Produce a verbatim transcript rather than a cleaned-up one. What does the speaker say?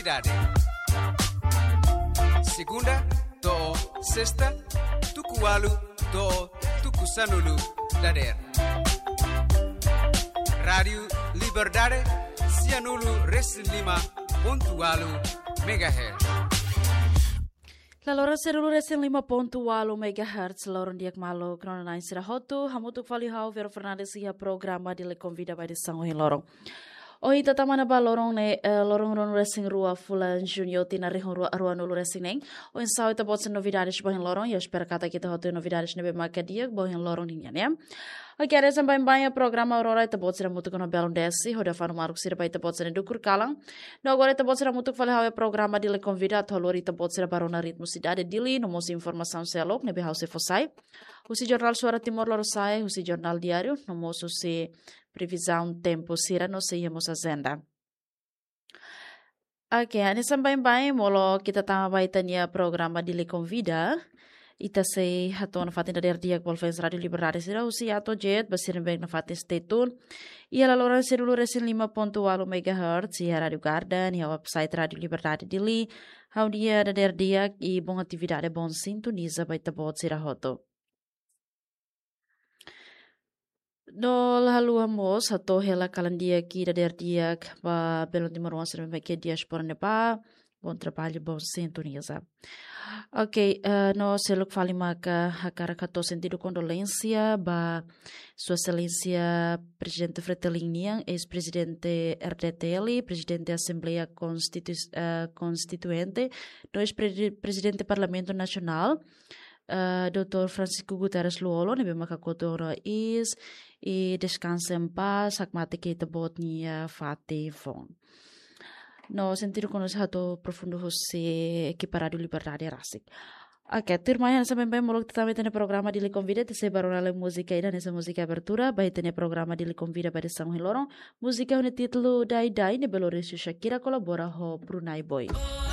Liberdade. Segunda to'o sesta, tuku ualu to'o tuku sanulu dadeer. Rádiu Liberdade, sianulu resin lima pontu ualu megahertz. Laloran sianulu resin lima pontu ualu megahertz, loron di'ak malu, kronana sira hotu, hamutuk fali ho ha'u Vero Fernandes iha programa Dili Konvida ba edisaun ohin loron. Ohin ita tama ona ba loron ne'e, eh, loron ruanulu resin rua fulan Juñu tinan rihun rua ruanulu resin neen. Oinsá ita-boot sira-nia novidades ba ohin loron, ha'u espera katak ita hotu novidades ne'ebé maka di'ak ba ohin loron nian, ya. Oke, hanesan baibain iha programa Aurora ita-boot sira hamutuk ho belun Desi, hodi hafanu maruk sira ba ita-boot sira-nia dukur kalan. No agora ita-boot sira hamutuk fali ho ha'u iha programa Dili Konvida atu haluha ita-boot sira ba rona ritmu sidade Dili, no mós informasaun seluk ne'ebé ha'u sei fó sai. Husi Jornál Suara Timor Lorosa'e, husi Jornál Diáriu, no mós husi previzaun tempu sira no sei iha mós ajenda. Oke, hanesan baibain, molok ita tama ba ita-nia programa Dili Konvida. Ita sei hato'o nafatin dadeer di'ak ba fans Rádiu Liberdade sira husi A to'o Z, ba sira ne'ebé nafatin stay tune iha laloran sianulu resin lima pontu ualu megahertz, iha Rádiu Garden, iha website Rádiu Liberdade Dili. Ha'u dehan dadeer di'ak i bom atividade, bom sintoniza ba ita-boot sira hotu. No la haluha mós hato'o hela kalan di'ak i dadeer di'ak ba belun timoroan sira ne'ebé iha diáspora ne'ebá. Bom trabalho, bom sintoniza. Ok, eh, no seluk fali maka hakarak hato'o sentidu kondolénsia ba Sua Exelénsia Prezidente Fretilin nian, eis-prezidente R D T L, prezidente Asembleia Konstitu-, eh, Konstituinte, no eis-pre-, prezidente Parlamentu Nasionál, eh, doutór Francisco Guterres Lú-Olo, ne'ebé maka kotu ona iis, i deskansa en paz, hakmatek iha ita-boot nia fatin foun. No sentidu kondolénsia hato'o profundu husi ekipa Rádiu Liberdade rasik. Ok, tuirmai hanesan baibain, molok ita tama ba ita-nia programa Dili Konvida, ita sei ba rona lai múzika ida hanesan múzika abertura ba ita-nia programa Dili Konvida ba edisaun ohin loron. Múzika ho nia títulu Dai Dai, ne'ebé lori husi Shakira kolabora ho Brunei Boy.